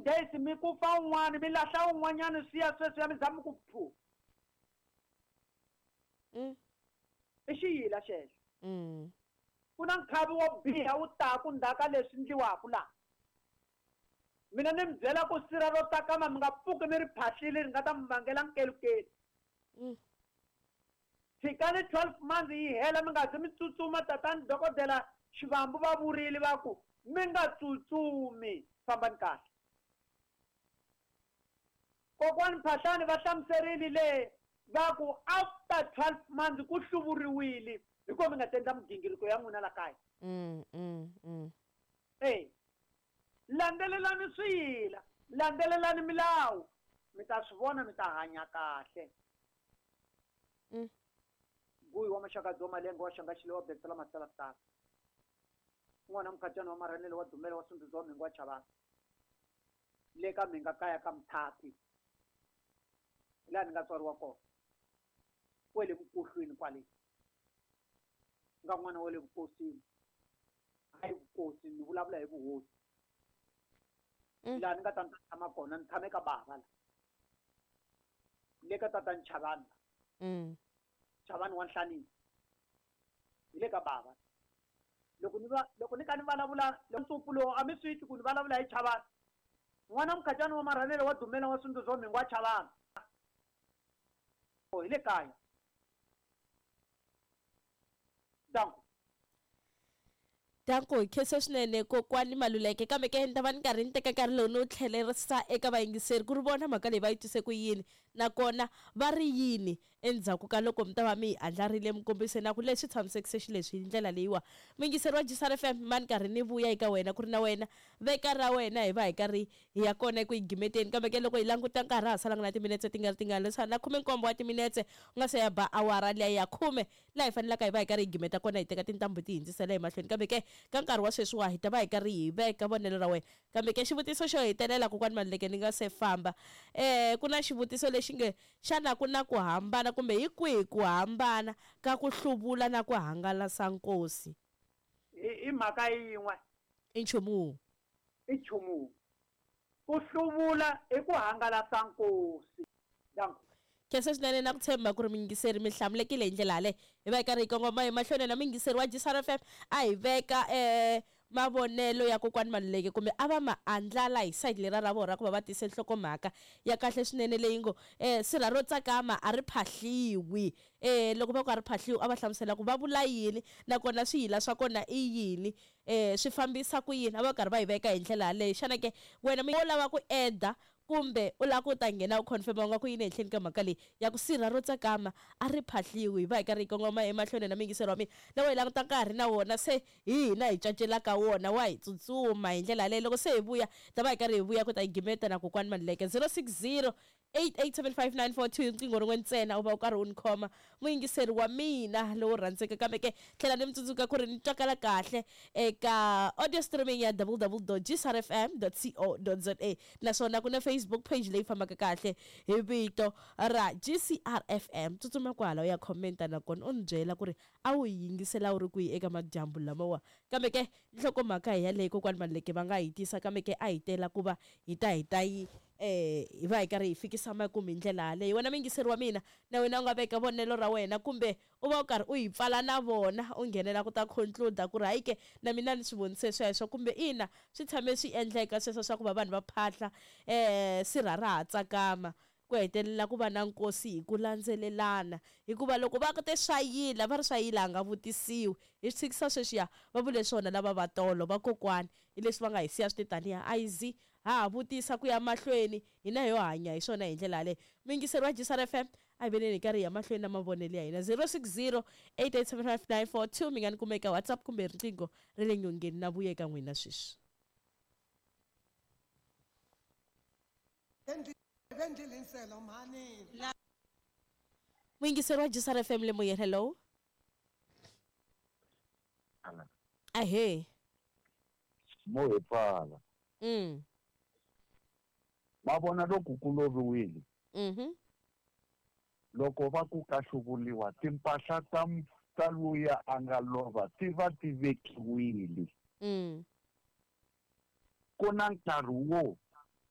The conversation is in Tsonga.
10 days mi ku fa un'wana mi lahla un'wanyana swi ya sweswiya mi za mi ku phu. I xiyila xexo. Ku na nkhavi wo biha wu taku ndzhaku ka leswi ndliwaku laha. Mina ni mi byela ku sirha ro tsakama mi nga pfuki mi ri phahlile ri nga ta mi vangela nkelukelu. Tshikani 12 months yi hela mi nga zi mi tsutsuma tatani dokodela Xivambu va vurile va ku mi nga tsutsumi fambani kahle. Kokwani Phahlani va hlamuserile le va ku after 12 months ku hluvuriwile hikuva mi nga ta endla migingiriko ya n'wina la kaya. E landzelelani swiyila, landzelelani milawu mi ta swi vona mi ta hanya kahle. Guyi wa maxaka dzo malenga wa xanga xile wa betsela masala tala. N'wana mukhatjana wa marhanele wa dumela wa sunduzo wa mhingo wa chavana. Le ka mhinga kaya ka mthathi. Laha ni nga tswariwa kona. Kwele vukohlweni kwale. Nga n'wana wa le vukosini. Hayi vukosi, ni vulavula hi vuhosi. Laha ni nga ta ni ta tshama kona, ni tshame ka bava la. Le ka tatani Chavani la. Chavani wa Nhlanini. Hi le ka bava. Loko ni va, loko ni ka ni vulavula ntsumbu lowu a mi swi twi ku ni vulavula hi Chavani. N'wana mukhatjani wa marhanele wa dumela wa sunduzo wa mhingo wa Chavani. Hi le kaya. Danko. Danko, hi khensa swinene kokwani Maluleke, kambe ke ni ta va ni karhi ni teka nkarhi lowu ni wu tlhelerisa eka vayingiseri ku ri vona mhaka leyi va yi twise ku yini nakona va ri yini endzhaku ka loko mi ta va mi yi andlarile mi kombise na ku leswi tshamisekise xileswi hi ndlela leyiwa. Muyingiseri wa Jisar FM, ma ni karhi ni vuya eka wena ku ri na wena veka ra wena hi va hi karhi hi ya kona eku yi gimeteni, kambe ke loko hi languta nkarhi ha salanga na timinetse ti nga ri tingani leswi na 17 wa timinetse u nga se ya ba awara liya ya 10 laha hi fanelaka hi va hi karhi hi gimeta kona hi teka tintambu ti hindzisela emahlweni, kambe ke ka nkarhi wa sweswiwa hi ta va hi karhi hi veka vonelo ra wena. Kambe ke xivutiso xo hetelela kokwani Maluleke ni nga se famba, ku na xivutiso lexi nge xana ku na ku hambana kumbe hi kwihi ku hambana ka ku hluvula na ku hangalasa nkosi? I mhaka yin'we. I nchumu wun'we. I nchumu wun'we. Ku hluvula i ku hangalasa nkosi. Danko. Khensa swinene na ku tshemba ku ri muyingiseri mi hlamulekile hi ndlela yaleyo. Hi va hi karhi hi kongoma emahlweni na muyingiseri wa Jisar FM a hi veka mavonelo ya kokwani Maluleke kumbe a va ma andlala hi side lera ra vona ra ku va va tise nhlokomhaka ya kahle swinene leyi ngo sirha ro tsakama a ri phahliwi. Loko va ku a ri phahliwi a va hlamusela ku va vula yini nakona swiyila swa kona i yini, swi fambisa ku yini, a va karhi va yi veka hi ndlela yaleyo. Xana ke wena wo lava ku eda kumbe u lava ku ta nghena u confirm u nga ku yini ehenhleni ka mhaka leyi ya ku sirha ro tsakama a ri phahliwi? Hi va hi karhi hi kongoma emahlweni na muyingiseri wa mina loko hi languta nkarhi na wona se hi hina hi cacelaka wona wa hi tsutsuma hi ndlela yaleyo. Loko se hi vuya ta va hi karhi hi vuya ku ta yi gimeta na kokwani Maluleke. 060 8875942 riqingho rin'we ntsena u va u karhi u ni khoma muyingiseri wa mina lowu rhandzeka, kambe ke tlhela ni mi tsundzuka ku ri ni twakala kahle eka audio streaming ya www.gcrfm.co.za naswona ku na Facebook page leyi fambaka kahle hi vito ra GCRFM. Tsutsuma kwala u ya commenta nakona u ni byela ku ri a wu yi yingisela u ri kwihi eka madyambu lamawa. Kambe ke nhlokomhaka hi yaleyo kokwani Maluleke va nga hi tisa, kambe ke a hi tela ku va hi ta hi ta yi hi va hi karhi hi fikisa makumu hi ndlela yaleyo. Wena muyingiseri wa mina na wena u nga veka vonelo ra wena kumbe u va u karhi u yi pfala na vona u nghenela ku ta conclude ku ri hayi ke na mina ni swi vonise sweswo kumbe ina swi tshame swi endleka sweswo swa ku va vanhu va phahla sirha ra ha tsakama ku hetelela ku va na nkosi hi ku landzelelana, hikuva loko va te swa yila va ri swa yila a nga vutisiwi. Hi swi tshikisa sweswiya va vule swona lava va tolo va kokwani hi leswi va nga hi siya swi te taniya a yi zi ha ha vutisa ku ya mahlweni hina ho hanya hi swona hi ndlela yaleyo. Muyingiseri wa Jisar FM a hi veneni hi karhi hi ya mahlweni na mavonelo ya hina 060 8875942 mi nga ni kuma eka WhatsApp kumbe riqingho ra le nyongeni na vuya eka n'wina sweswi. Muyingiseri wa Jisar FM le moyeni, hello. Ahee. Mo hi pfala. Ma vona loko ku loviwile. Loko va ku ka hluvuliwa timpahla ta luya a nga lova ti va ti vekiwile. Ku na nkarhi wo